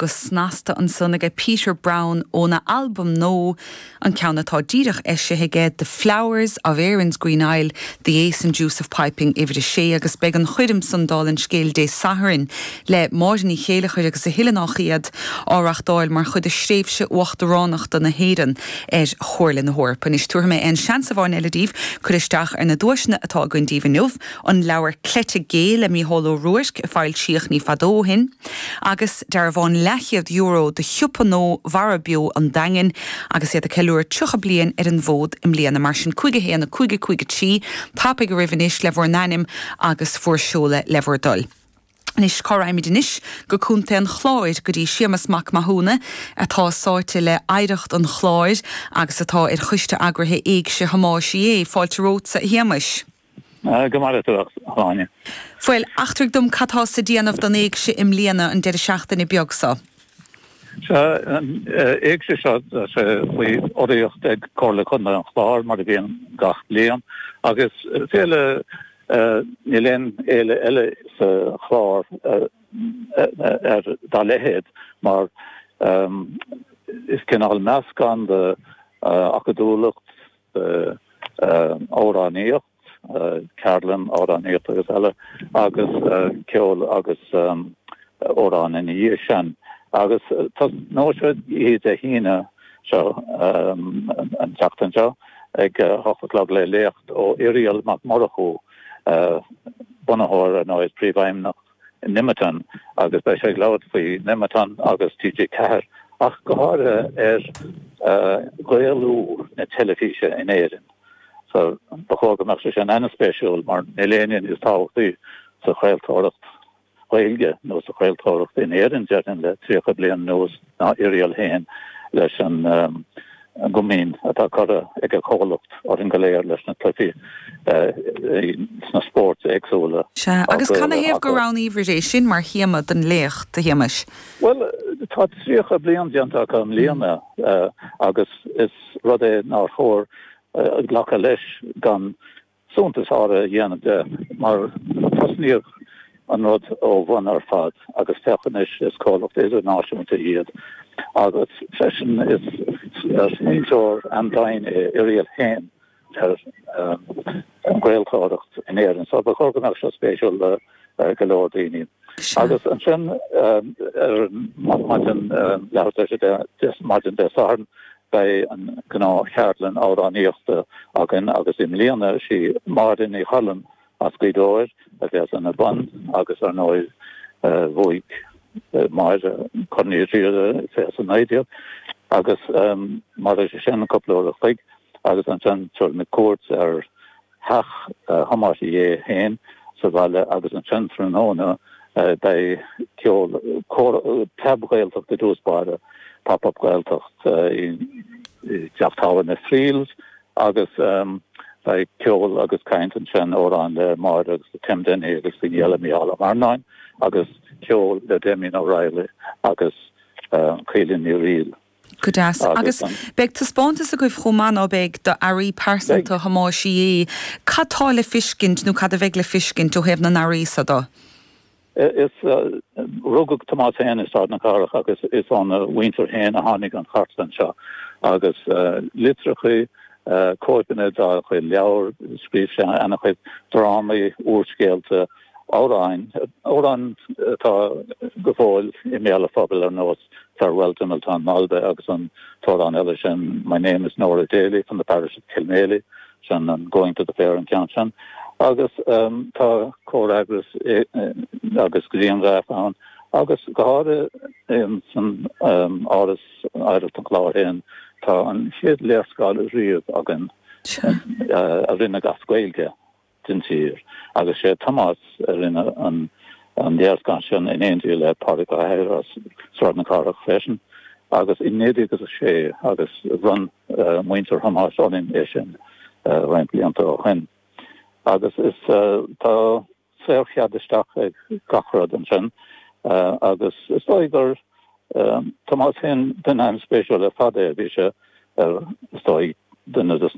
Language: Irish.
Go snasta ansan aige Peter Browne óna albam nua, an ceann atá díreach eisithe aige, The Flowers of Erin's Green Isle, The Ace and Deuce of Piping, uimhir a sé, agus beidh an choirm san, dála an scéil, Dé Sathairn le Máire Ní Chéileachair agus a thuilleadh nách iad, á reachtáil mar chuid de thréimhse uachtaránachta na hÉireann ar Chomhairle na hEorpa. Anois tabharfaidh mé aon seans amháin eile daoibh cur isteach ar na duaiseanna atá againn daoibh inniu. An leabhar Cleite Gé le Mícheál Ó Ruairc a foilsíodh ní fada ó shin, agus dearbhán leathchéad euro do shiopa nua Mhara Beo an Daingin agus iad ag ceiliúradh 30 bliain ar an bhfód i mbliana. Mar sin 5 1 5 5 3, tapaigh oraibh anois le bhur n-ainm agus bhur seoladh le bhur dtoil. Anois, cá raghaimid anois? Go Contae an Chláir, go dtí Séamas Mac Mathúna, atá sáite le hoidhreacht an Chláir agus atá ar choiste eagraithe Éigse Thomáis Uí Aodha. Fáilte romhatsa, a Shéamais. Go maire tú, a Shláine. Bhuel, eachtraigh dom cad tá sa déanamh don Éigse i mbliana, an deireadh seachtaine beag so? Sea, an Éigse seo, tá sé faoi urraíocht ag Comhairle Contae an Chláir, mar a bhíonn gach bliain, agus féile, níl aon fhéile eile sa Chlár ar dá leithéid, mar is cineál meascán de acadúlacht, amhránaíocht, ceardlann amhránaíochta agus eile, agus ceol agus amhráin ina dhiaidh sin. Agus tosnóidh sé oíche Dé hAoine seo, an tseachtain seo, ag a hocht a chlog le léacht ó Irial Mac Murchú, bunaitheoir ar ndóigh is príomhfheidhmeannach Nemeton agus beidh sé ag labhairt faoi Nemeton agus TG4 ach go háirithe ar Ghaelú na teilifíse in Éirinn. So ba chóir go mbeadh sé sin an-spéisiúil mar níl éinne níos tábhachtaí sa chraoltóireacht Ghaeilge nó sa chraoltóireacht in Éirinn déarfainn le 30 bliain anuas ná Irial féin leis an an gcomaoin atá curtha ag a chomhlacht orainn go léir leis na cluichí sna spóirt éagsúla. Sea, agus canathaobh gur roghnaíobhair é sin mar théama don léacht, a Shéamais? Bhuel, tá 30 bliain déanta acu i mbliana agus is rud é nár chóir glacadh leis gan suntas áirithe a dhéanamh de mar tosnaíodh an rud ó bhun ar fad agus féach anois is comhlacht idirnáisiúnta iad agus freisin is smaointeoir an-domhain é Irial féin ar an gcraoltóireacht in Éirinn so ba chóir go mbeadh seo spéisiúil le go leor daoine. Agus ansin ar maidin leathuair tar éis 10 maidin Dé Sathairn beidh an gnáth-cheardlann amhránaíochta againn agus i mbliana is í Máire Ní Choilm as Gaoth Dobhair a bheas ina bun agus ar ndóigh bhuaigh Máire Corn Uí Riada i 2019 agus mairfidh sé sin cúpla uair a chloig agus ansin tabharfaimid cuairt ar theach Thomáis Uí Aodha féin sa bhaile agus ansin tráthnóna beidh ceol, Preab-Ghaeltacht i dtús báire, Pop Up Gaeltacht i dteach tábhairne Friels agus beidh ceol agus caint ansin, amhráin le Máire agus le Tim Dennehy agus daoine eile, Mícheál Ó Marannáin agus ceol le Damien O'Reilly agus Caoilfhionn Ní Fhrighil. Go deas. Agus beidh taispeántas agaibh chomh maith, ná beidh, d'earraí pearsanta Thomáis Uí Aodha. Cad tá le fiscint, nó cad a bheidh le fiscint, ó thaobh na n-earraí so do? Is, rugadh Tomás féin i Sráid na Cathrach agus is óna mhuintir féin a tháinig an chartlann seo. Agus litreacha, cóipeanna dá chuid leabhar, scríobh sé ana-chuid drámaí, úrscéalta, amhráin, amhráin atá go fóill i mbéal an phobail ar nós Farewell to Miltown Malbay agus an t-amhrán eile sin My Name is Nora Daly from the Parish of Kilmaley, sin an Going to the Fair an ceann sin. Agus tá comhfhreagras agus grianghraif ann agus go háirithe san Áras Oidhreacht an Chláir féin tá an chéad léarscáil riamh againn a rinneadh as Gaeilge. den tír agus sé Tomás a rinne an léarscáil sin in éindí le Pádraig Ó hEithir as Sráid na Cathrach freisin agus i 1906 agus bhronn muintir Thomáis orainn é sin roinnt blianta ó shin. Agus is tá saorchead isteach ag gach rud ansin agus is dóigh gur Tomás féin duine an-spéisiúil ar fad é, bhí sé ar is dóigh duine de na.